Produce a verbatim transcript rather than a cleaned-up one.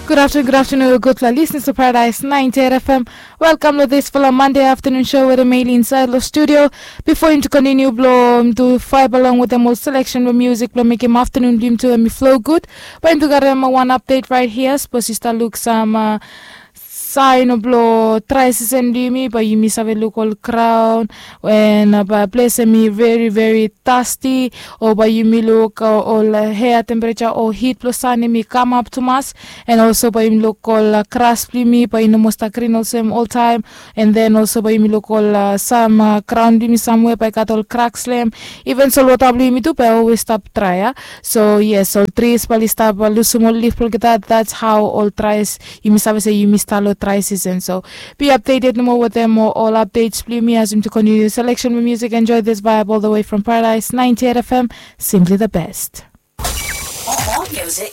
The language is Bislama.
Gud aftenun, gud aftenun, gudfala lisnas long Paradise ninety-eight F M. Welkam long disfala Mande aftenun show wetem Meli insaed long studio. Bifo yumi tu kontiniu blong yumi tu vaeb along wetem ol seleksen blong musik blong mekem aftenun blong yumi tu hemi flo gud, bae yumi tu karem wan apdet raet hia. Sapos yu stap luk sam saen blong drae sisen blong yumi, bae yumi save luk ol graon, and bae ples hemi veri veri dasti, o bae yumi luk ol hea tempereja o hit blong san hemi kamap tumas. And olso bae yumi luk ol gras blong yumi bae i no moa stap grin olsem oltaem. And then olso bae yumi luk ol sam graon blong yumi samwea bae i gat ol kraks long hem. Iven solwota blong yumi tu bae i olwes stap drae ya. So yes, ol tris bae oli stap lusum ol lif blong olgeta. That's how ol drae, yumi save se yumi stap long drae sisen. So be updated nomo wetem ol updates blong yumi as yumi tu kontiniu seleksen blong musik. Enjoy this vibe all the way from Paradise ninety-eight F M. Simply the best. More music.